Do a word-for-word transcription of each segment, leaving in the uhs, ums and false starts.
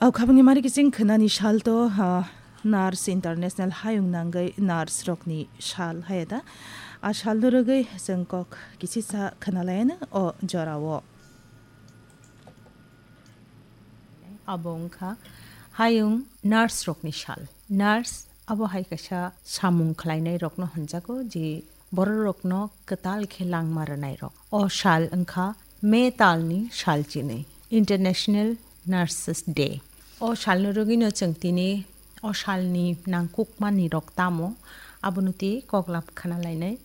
Au khabangni mari kiching khwnani sal to, ha, Nurse International hayung nangwi nurse rokni sal haya da. A salno rwgwi chwng kok kisisa khwnalayano o jorao. Abo wngkha hayung nurse rokni sal. Nurse abo hai kaisa samung khlainai rokno hwnjago, je bororokno kwtal khe langma rwnairok. O sal wngkha May talni sal chinwi, International Nurses Day. O salno rwgwino chwng tini o salni nangkukmani rok tamo, abono twi koklam khna lainai.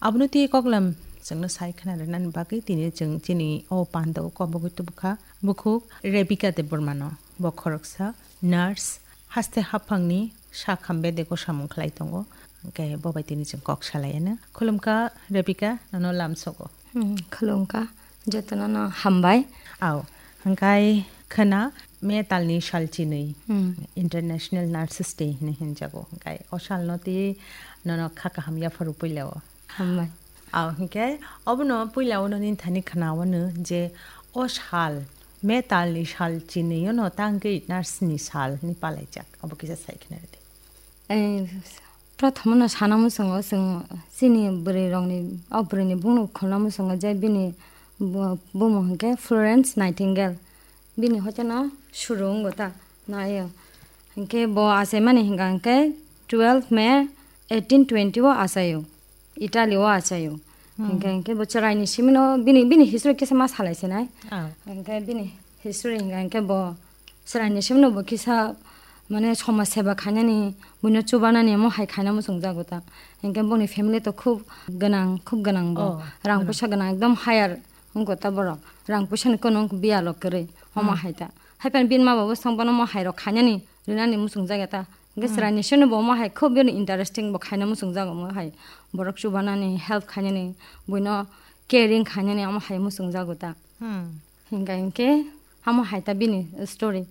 Abono twi koklam chwngno sai khna rwnani bagwi tini chwng chini o pandao kobogwi tubukha bukhuk Rebecca Debbarmano. Bo khoroksa nurse, haste haphangni sak hambe de gosamung khlai tongo. Hwnkhe bo bai tini chwng kok salaiano. Khulumkha Rebecca, nono lamsogo. Hmm, khulumkha, jotono no hambai. Au, hwnkhe khwna May talni sal chinwi Hmm. International Nurses Day hinwi hinjago. Hwnkhe o salno twi nono kha kaham yapharu puilao. Hambai. Au, hwnkhe obono puilao no nini thani khwnawano je o sal, May talni sal chinwi ono tangwi nurse ni sal hinwi palaijak. Obo kisa sai khna rwdi. Eh, Prothomno sana muchungo chwng chini bwrwi rokni, o bwrwini bungno khulna muchungo je bini bu-, bumung hwnkhe Florence Nightingale. Bini hoiteno suru wngo ta, naio. Hwnkhe bo achaimani hwnkha hwnkhe twelve May eighteen twenty o achaio, Italy o achaio. Hmm. Hwnkhe, hwnkhe bo chwraini simino bini, bini history kisa ma salai sinai. Ah. Hwnkhe bini history hwnkha hwnkhe bo chwraini simino bo kisa, mane, somaj seba khainani, buino chubanani omo hai khaina muchungjago ta. Hwnkhe boni family to khub gwnang, khub gwnang bo. Oh, rang gwnang. Puisa gwnang, ekdom higher wngkha ta borok. Rang puisani kono wngkha biyalo kwrwi, omo Hmm. hai ta. Haiphano bini ma baba song bono omo hai rok khainani, rinani muchungjago ta. Hwnkhe Hmm. chwraini simino bo omo hai khub bini interesting bo khaina muchungjago omo hai. Borok chubanani, help khainani, buino caring khainani omo hai muchungjago ta. Hmm. Hingka hinkhe amo hai ta bini story.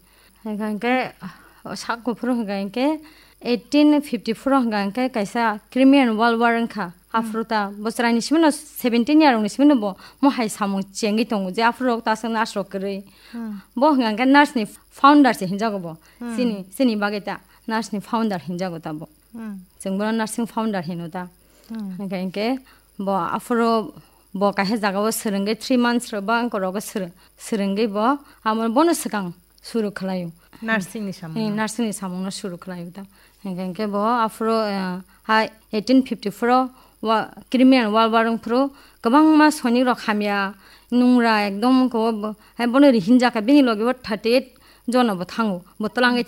Hingka hinkhe, ah, sak kuphuru hingka hinkhe eighteen fifty-four o hingka hinkhe kaisa Crimean World War wngkha. Hmm. Aphuru ta bo chwraini simino seventeen year rokni simino bo mo hai samung chengwi tongo je aphuru rok ta aswk nurse rok kwrwi. Hmm. Bo hingka hinkhe nurse ni founder se hinjago bo. Hmm. Chini, chini bagwi ta nurse ni founder hinjago ta bo. Hmm. Chwng bono nursing founder hino ta. Hmm. Hingka hinkhe bo aphuru bo kaisa jagao swrwngwi three months rok ba wngkha rogo swrw-, swrwngwi bo amo bono swkang suru khlaio. Nursing ni samung. Hing, nursing ni samung no suru khlaio ta. Hingka hinkhe bo aphuru, eh, hai eighteen fifty-four o wa-, Crimean War, War wngphuru kwbangma soinik rok hamya, nungra ekdom wngkha bo, hai bono rihinjak kha bini logi bo thirty eight jono bo thango, bo twlangwi